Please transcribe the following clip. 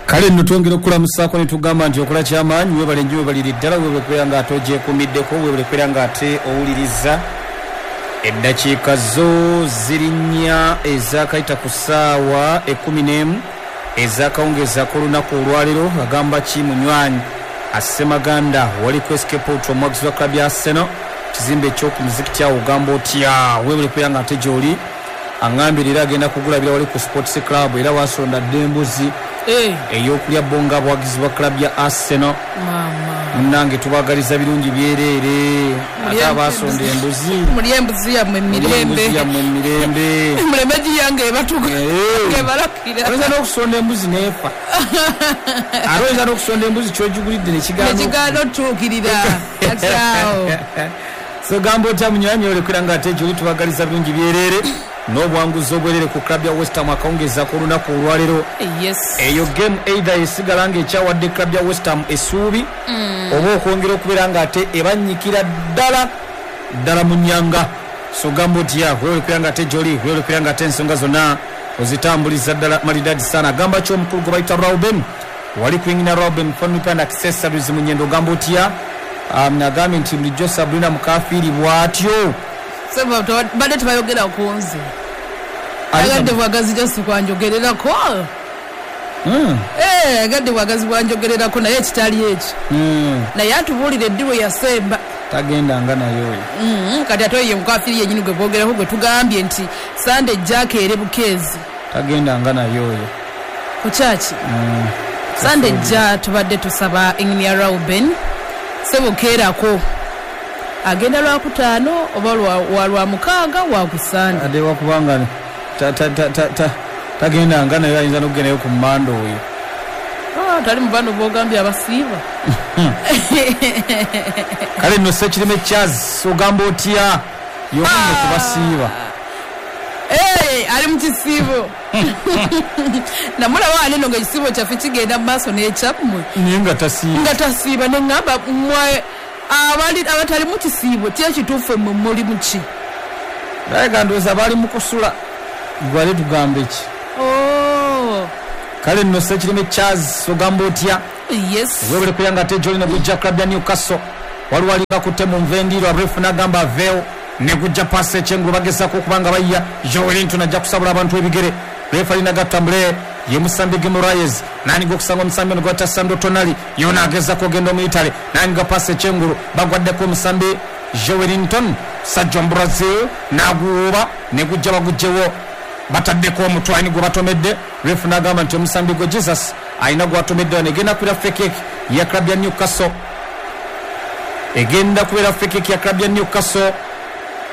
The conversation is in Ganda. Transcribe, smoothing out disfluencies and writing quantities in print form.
Kale nno twongera okukulamusaako ne tugamba nti okola kyamaanyi, webale nnyo, webalire ddala, webale kubeera nga ate ogyekuumiddeko, webale kubeera nga ate owuliriza. Eddakiika zo ziri nnya ezaakayita ku ssaawa 11 ez'akawungeezi ak'olunaku olwaleero. Agamba ki munywanyi Ssemaganda wali ku SK Poultry, omuwagizi wa club ya Arsenal, kizimbe eky'oku muzikiti awo, ogamba otya? Webale kubeera nga ate gy'oli. Aŋŋambye leero agenda kugulabira wali ku Sports Club, era wasonda dda embuzi ey'okulya bo ng'abawagizi ba club ya Arsenal. Munnange tubaagaliza birungi byereere, ate abaasonda embuzi, mulye embuzi yammwe mulye emirembe, embuzi yammwe emirembe, muleme giyanga ebatuga ebalakira. Oyinza n'okusonda embuzi n'efa, ate oyinza n'okusonda embuzi ky'ogigulidde nekigaana nekigaana otutuukirira kati awo. So gamba otya munywanyi olekera nga ate gyoli, tubagaliza birungi byereere n'obuwanguzi obwerere ku club ya West Ham akawungeezi ak'olunaku olwaleero. Eyo game either esigala ng'ekyawadde club ya West Ham essuubi oba okwongera okubeera nga ate ebanyikira ddala ddala mu nnyanga. So gamba otya, weolekera nga ate gyoli, weolekera nga ate ensonga zonna ozitambuliza ddala maridadi sana. Agamba ki omukulu gwe bayita Rauben wali kwingina Rauben phone repair and accessories mu Nyendo, ogamba otya? Agambye nti bulijjo Sabrina mukafiiri bw'atyo. Sebo, badde tebayogera ku nze, agadde bwagazi josi kwanjogererako. Agadde bwagazi bwanjogererako, naye ekitali ekyo. Naye atubuulire eddi lwe yasemba. Tagendanga naye oyo. Kati ate oyo ye mukafiri yennyini gwe boogerako, gwe tugambye nti Sande ejjakeere bukeezi. Tagendanga naye oyo. Ku kyaki? Sande ejja tubadde tusaba Engineer Rauben sebokeerako, agenda Lwakutaano oba wa Lwamukaaga wa ku Sande. Ate wakubanga tagendanga naye, ayinza n'okugendayo ku Manda oyo. Ah, tali mu bano bogambye abasiiba. Kale nno Sekirime Charles, ogamba otya? Yomunno kubasiiba. Ali mu kisiibo, namulaba wano eno nga ekisiibo kyaffe kigenda mu maaso n'ekyammwe, naye nga tasiiba, nga tasiiba, neŋŋamba mmwe abatali mu kisiibo ki ekituufu, mmwe muli muki? Naye gandowooza baali mu kusula, gwale tugambe ki? Oh. Kale nno Sekirime Charles, ogamba otya? Yes. Webale kuya nga ate gyoli. Negujja club ya Newcastle, waliwo alinga kutte mu nva endiiro, abeefu n'agamba aveewo, negujja paasi ekyengulu, bagezaako okuba nga bayiya. Joelinton ajja kusabula abantu ebigere, refa alina gatambule, ye musambi Guimaraes naniga okusanga omusambi ono gwata Sandro Tonali, yona agezaako ogenda omuyitale, naniga paasi ekyengulu, bagwaddeko omusambi Joelinton, sajja Omubrazil, n'aguwuuba negujja, bagugjewo, bataddeko omutwe, ani gwe batomedde? Refu n'agamba nti omusambi gwe Jesus alina gwatomedde wano. Egenda kubeera free kick ya club ya Newcastle, egenda kubeera free kick ya club ya Newcastle.